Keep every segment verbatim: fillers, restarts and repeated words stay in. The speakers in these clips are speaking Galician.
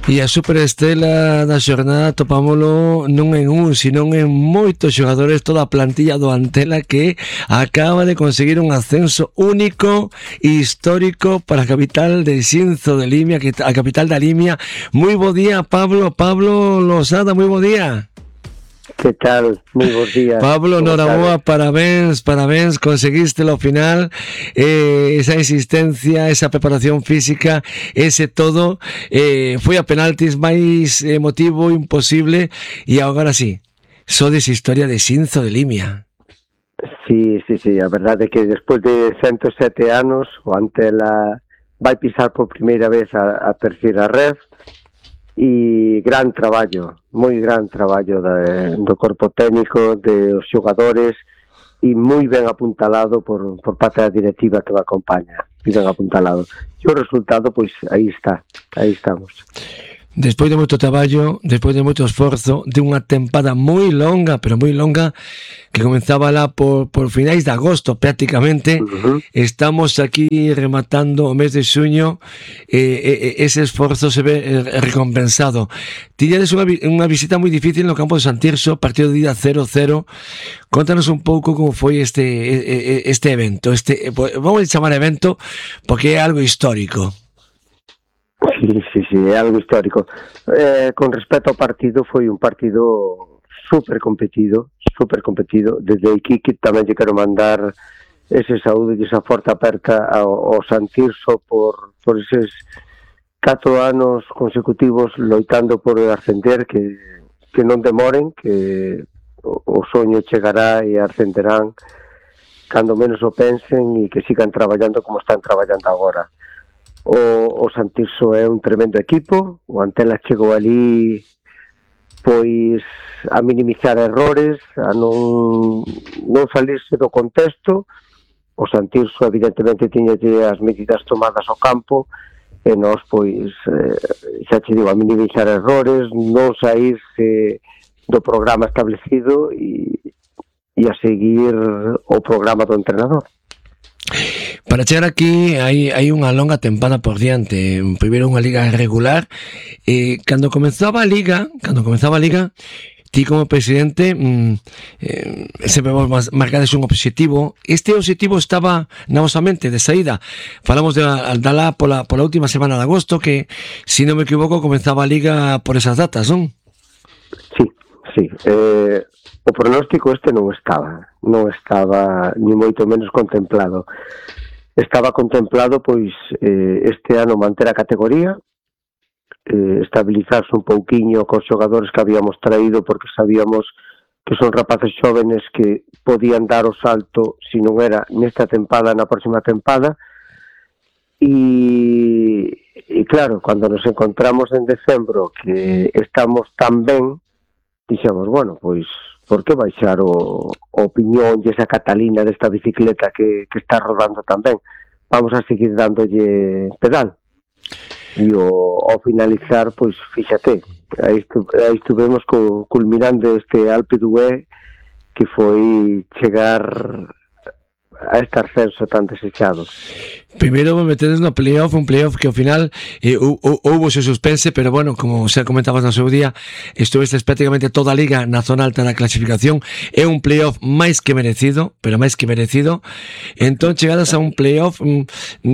E a superestrela da xornada topámolo non en un, sino en moitos xogadores, toda a plantilla do Antela que acaba de conseguir un ascenso único e histórico para a capital de Xinzo de Limia, que a capital da Limia. Moi bo día, Pablo, Pablo Losada, moi bo día. Que tal? Moi bons días. Pablo, noraboa, parabéns, parabéns, conseguiste ao final eh, esa existencia, esa preparación física, ese todo, eh, foi a penaltis máis emotivo imposible e agora sí, sodes historia de Xinzo de Limia. Sí, sí, sí, a verdade é que despois de ciento sete anos o Antela vai pisar por primeira vez a, a terceira red. E gran traballo, moi gran traballo de, do corpo técnico, de os xogadores, e moi ben apuntalado por, por parte da directiva que me acompaña, moi ben apuntalado. E o resultado, pois, aí está, aí estamos. Despois de moito traballo, despois de moito esforzo, de unha tempada moi longa, pero moi longa, que comenzaba lá por, por finais de agosto prácticamente, uh-huh. Estamos aquí rematando o mes de xuño, eh, eh, ese esforzo se ve recompensado. Tiñades unha, unha visita moi difícil no campo de San Tirso, partido de día cero cero. Contanos un pouco como foi este, este evento, este, vamos a chamar evento porque é algo histórico. Sí, sí, sí, é algo histórico. Eh, con respecto ao partido, foi un partido super competido, super competido. Desde aquí que tamén lle quero mandar ese saúdo e esa forte aperta ao, ao San Tirso por, por eses catro anos consecutivos loitando por ascender, que, que non demoren, que o, o soño chegará e ascenderán cando menos o pensen e que sigan traballando como están traballando agora. O, o San Tirso é un tremendo equipo, o Antela chegou ali pois a minimizar errores, a non, non salirse do contexto. O San Tirso evidentemente tiña as medidas tomadas ao campo e nós pois eh, xa che digo, a minimizar errores, non saírse do programa establecido e, e a seguir o programa do entrenador. Para chegar aquí hai, hai unha longa tempada por diante. Primeiro unha liga regular, e cando comenzaba a liga, cando comenzaba a liga, ti como presidente mmm, eh, sempre vos marcades un objetivo. Este objetivo estaba na vosa mente de saída. Falamos de Aldalá pola, pola última semana de agosto, que, se non me equivoco, comenzaba a liga por esas datas, non? Sí, sí. Eh, o pronóstico este non estaba, non estaba ni moito menos contemplado. Estaba contemplado, pois, eh, este ano manter a categoría, eh, estabilizarse un pouquiño cos xogadores que habíamos traído, porque sabíamos que son rapaces xóvenes que podían dar o salto, se non era nesta tempada, na próxima tempada. E, e claro, cando nos encontramos en decembro que estamos tan ben, dixemos, bueno, pois, por que baixar o, o piñón e esa Catalina desta bicicleta que, que está rodando tan ben? Vamos a seguir dándolle pedal. E o, ao finalizar, pois, fíxate, aí, estu, aí estuvemos co, culminando este Alpe d'Huez, que foi chegar a este ascenso tan desechado. Primeiro me metedes no playoff, un playoff que ao final eh, houve ese suspense, pero bueno, como xa comentabas no seu día, estuvestes prácticamente toda a liga na zona alta da clasificación. É un playoff máis que merecido, pero máis que merecido. Entón chegadas a un playoff mm,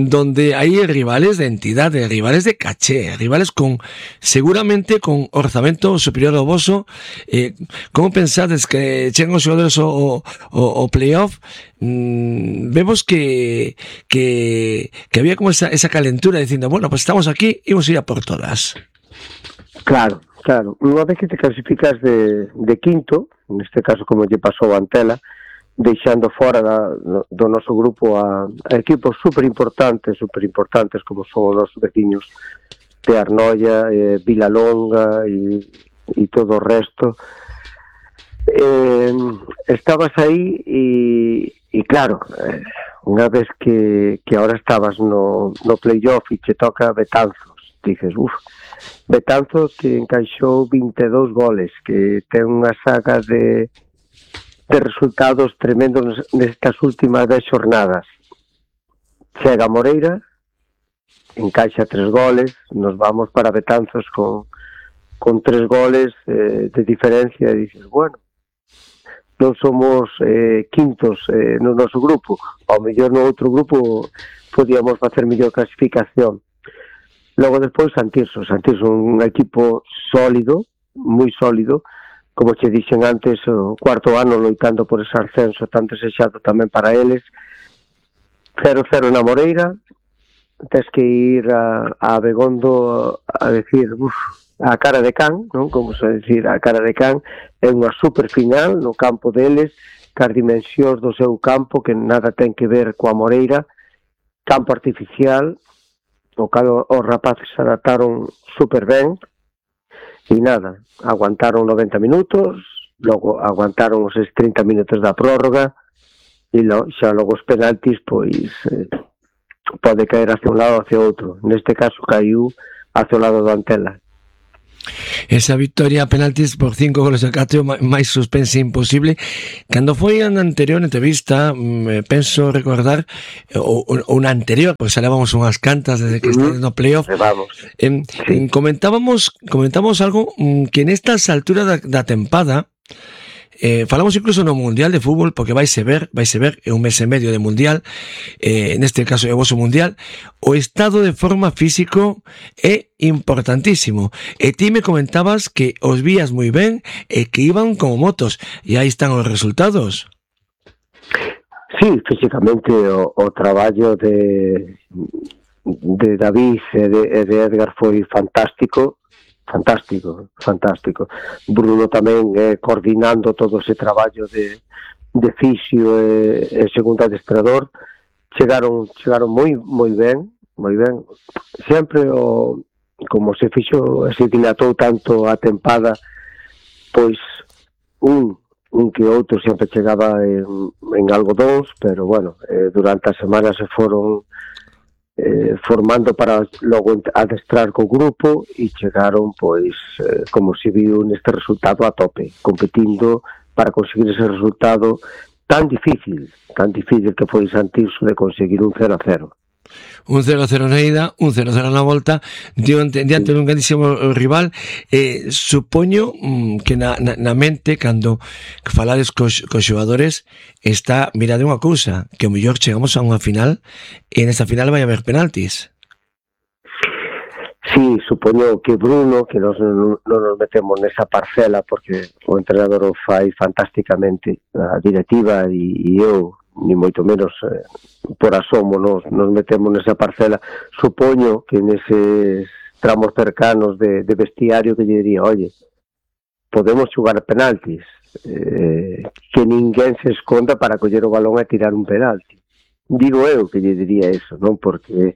donde hai rivales de entidade, rivales de caché, rivales con, seguramente con orzamento superior ao voso. Eh, como pensades que chegan os xogadores o, o, o playoff? Mm, vemos que que que había como esa, esa calentura dicindo, bueno, pues estamos aquí e vamos a ir a por todas. Claro, claro. Unha vez que te clasificas de, de quinto, neste caso como lle pasou a Antela, deixando fora da, do noso grupo a, a equipos super importantes, super importantes como son os nosos veciños de Arnoia, eh, Vilalonga e, e todo o resto, eh, estabas aí e, e claro, eh, unha vez que, que ahora estabas no, no playoff e che toca Betanzos, dices, uff, Betanzos que encaixou vinte e dous goles, que ten unha saga de, de resultados tremendos nestas últimas dez xornadas. Chega Moreira encaixa tres goles, nos vamos para Betanzos con, con tres goles eh, de diferencia, e dices, bueno, non somos eh, quintos eh, no noso grupo, ao mellor no outro grupo podíamos facer mellor clasificación. Logo despois Santirso, Santirso un equipo sólido, moi sólido, como che dixen antes, o cuarto ano loitando por ese ascenso tan desexado tamén para eles. Cero cero na Moreira, tes que ir a, a Abegondo a decir, uf, a cara de can, non? Como se decir, a cara de can, é unha super final no campo deles, cas dimensións do seu campo, que nada ten que ver coa Moreira, campo artificial, o cal os rapaces se adaptaron super ben, e nada, aguantaron noventa minutos, logo aguantaron os trinta minutos da prórroga, e lo, xa logo os penaltis, pois, eh, pode caer hacia un lado ou hacia outro. Neste caso caiu hacia o lado do Antela. Esa victoria a penaltis por cinco goles a catro, máis suspense imposible. Cando foi a anterior entrevista, me penso recordar o, o na anterior, pois salábamos unhas cantas desde que uh-huh. está no playoff. Eh, sí. Comentábamos comentábamos algo que nestas alturas da, da tempada, Eh, falamos incluso no Mundial de Fútbol, porque vaise ver, vaise ver, é un mes e medio de Mundial, eh, neste caso é o voso Mundial, o estado de forma físico é importantísimo. E ti me comentabas que os vías moi ben e que iban como motos, e aí están os resultados. Sí, físicamente o, o traballo de, de David e de, de Edgar foi fantástico, fantástico, fantástico. Bruno tamén eh, coordinando todo ese traballo de, de fisio e, e segundo adestrador, chegaron chegaron moi moi ben, moi ben. Sempre o como se fixo, se dilatou tanto a tempada, pois un un que outro sempre chegaba en, en algodóns, pero bueno, eh, durante a semana se foron Eh, formando para logo adestrar co grupo e chegaron, pois, eh, como se viu neste resultado a tope, competindo para conseguir ese resultado tan difícil, tan difícil que foi Santirso de conseguir un cero a cero. Un cero a cero na ida, un cero a cero na volta, diante, diante dun grandísimo rival. Eh, supoño mm, que na, na, na mente, cando falades cos, cos xogadores, está mirade unha cousa, que o mellor chegamos a unha final e nesta final vai haber penaltis. Sí, supoño que Bruno, que nos, non nos metemos nesa parcela, porque o entrenador o fai fantásticamente, a directiva e, e eu, ni moito menos eh, por asomo nos, nos metemos nesa parcela. Supoño que neses tramos cercanos de, de vestiario que lle diría, oye, podemos xugar penaltis, eh, que ninguén se esconda para coller o balón e tirar un penalti. Digo eu que lle diría eso, non? Porque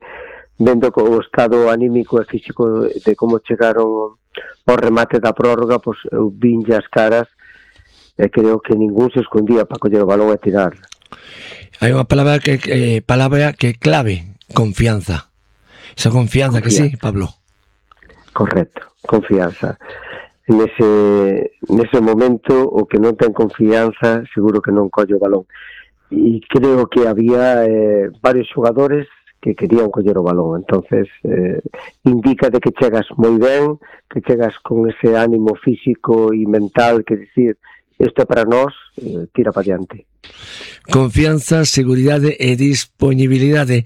vendo o estado anímico e físico de como chegaron ao remate da prórroga, pois eu vinlle as caras e creo que ningún se escondía para coller o balón e tirar. Hai unha palabra que eh, palabra que clave, confianza. Esa confianza, confianza, que sí, Pablo. Correcto, confianza. Nese, nese momento, o que non ten confianza, seguro que non colle o balón. E creo que había eh, varios xogadores que querían coller o balón. Entonces, eh, indica de que chegas moi ben, que chegas con ese ánimo físico e mental, que decir, isto é para nós, eh, tira para diante. Confianza, seguridade e disponibilidade.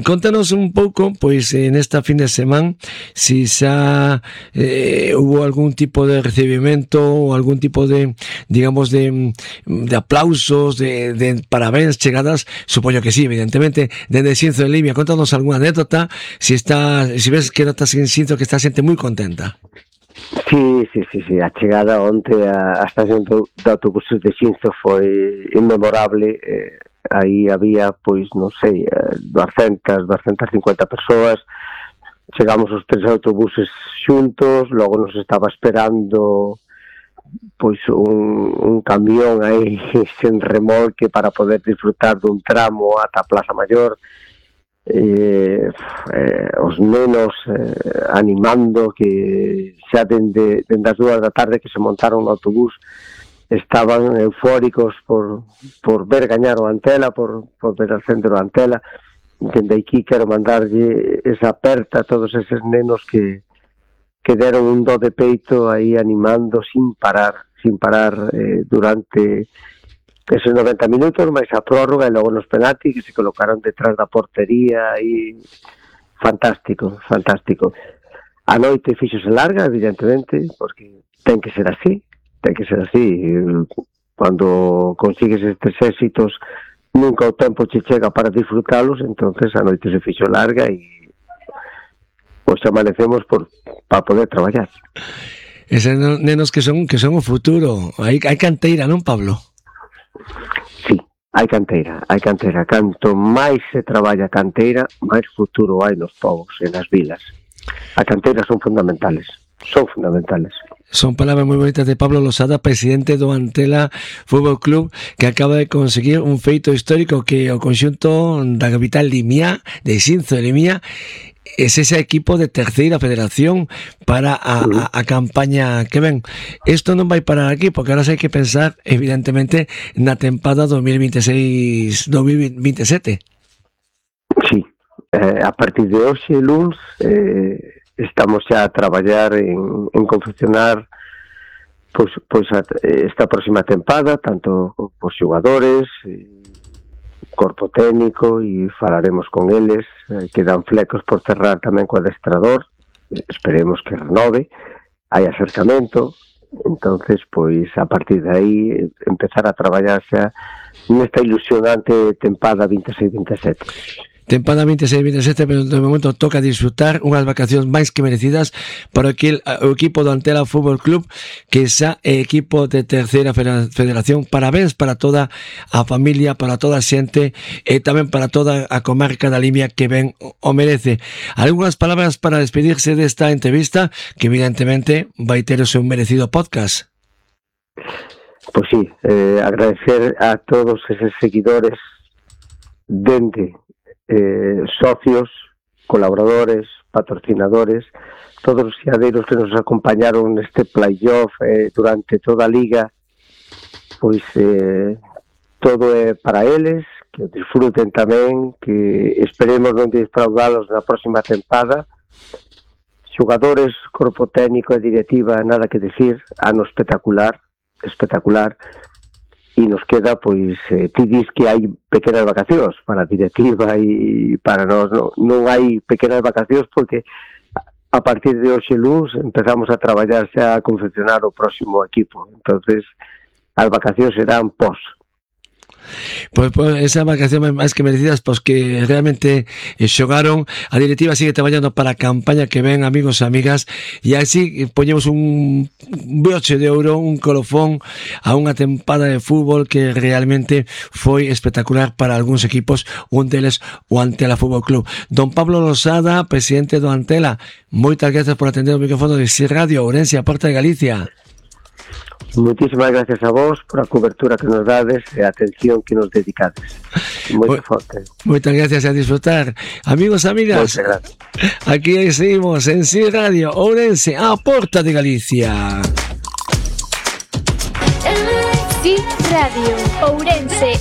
Contanos un pouco, pois, en esta fin de semana, si xa eh, hubo algún tipo de recibimento ou algún tipo de, digamos, de, de aplausos, de, de parabéns, chegadas, supoño que sí, evidentemente, dende Xinzo de Limia. Contanos algunha anécdota, si está, si ves que notas en Xinzo que está xente moi contenta. Sí, sí, sí, sí, a chegada onte a, a estación do, do autobuses de Xinzo foi inmemorable. Eh, aí había, pois, non sei, doscientas, doscientas cincuenta persoas. Chegamos os tres autobuses xuntos, logo nos estaba esperando pois un, un camión aí sen remolque para poder disfrutar dun tramo ata a Plaza Maior. Eh, eh, os nenos eh, animando, que xa dende, dende as dúas da tarde que se montaron no autobús estaban eufóricos por, por ver gañar o Antela, por, por ver al centro o Antela. dende aquí quero mandarlle esa aperta a todos eses nenos que que deron un do de peito aí animando sin parar, sin parar eh, durante esos noventa minutos, máis a prórroga e logo nos penaltis que se colocaron detrás da portería e fantástico, fantástico. A noite fíxose larga, evidentemente, porque ten que ser así, ten que ser así. Cando consigues estes éxitos, nunca o tempo che chega para disfrutalos, entonces a noite se fixo larga e pois amanecemos por para poder traballar. Eses nenos que son que son o futuro. Hai hai canteira, non, Pablo? Sí, hai canteira, hai canteira. Canto máis se traballa canteira, máis futuro hai nos povos e nas vilas. As canteiras son fundamentales, son fundamentales. Son palabras moi bonitas de Pablo Losada, presidente do Antela Fútbol Club, que acaba de conseguir un feito histórico que o conxunto da capital Limia, de Xinzo de Limia, es ese equipo de terceira federación para a, a, a campaña que ven. Isto non vai parar aquí, porque ahora hai que pensar, evidentemente, na tempada dos mil veintiséis dos mil veintisiete. Sí, eh, a partir de hoxe, luns, eh, estamos xa a traballar en, en confeccionar pois, pois a, esta próxima tempada, tanto os xogadores, eh, corpo técnico, e falaremos con eles, eh, quedan flecos por cerrar tamén co adestrador, esperemos que renove, hai acercamento, entonces pois a partir de aí empezar a traballar xa nesta ilusionante tempada veintiséis veintisiete. Tempada veintiséis veintisiete, pero de momento toca disfrutar unhas vacacións máis que merecidas para aquel, o equipo do Antela Fútbol Club, que xa é equipo de terceira federación. Parabéns para toda a familia, para toda a xente e tamén para toda a comarca da Limia, que ben o merece. Algúnas palabras para despedirse desta entrevista, que evidentemente vai ter o seu merecido podcast. Pois sí, eh, agradecer a todos eses seguidores dende Eh, socios, colaboradores, patrocinadores, todos os fiadeiros que nos acompañaron neste playoff eh, durante toda a liga, pois eh, todo é para eles, que disfruten tamén, que esperemos non defraudalos na próxima tempada. Xogadores, corpo técnico e directiva, nada que decir, ano espectacular, espectacular. E nos queda, pois, eh, ti dis que hai pequenas vacacións para a directiva e para nós, non, non hai pequenas vacacións porque a partir de hoxe luns empezamos a traballar xa a confeccionar o próximo equipo, entonces as vacacións serán pos. Pois, pois esa vacación máis que merecidas, pois que realmente eh, xogaron. A directiva sigue traballando para a campaña que ven, amigos e amigas, e así poñemos un broche de ouro, un colofón a unha tempada de fútbol que realmente foi espectacular para algúns equipos, un deles o Antela Fútbol Club. Don Pablo Losada, presidente do Antela, moitas gracias por atender o micrófono de Sir Radio Ourense, a Porta de Galicia. Muchísimas gracias a vos por a cobertura que nos dades e a atención que nos dedicades. Moito forte. Moitas gracias, a disfrutar. Amigos e amigas, aquí seguimos en Sir Radio Ourense, a Porta de Galicia. Sir Radio Ourense.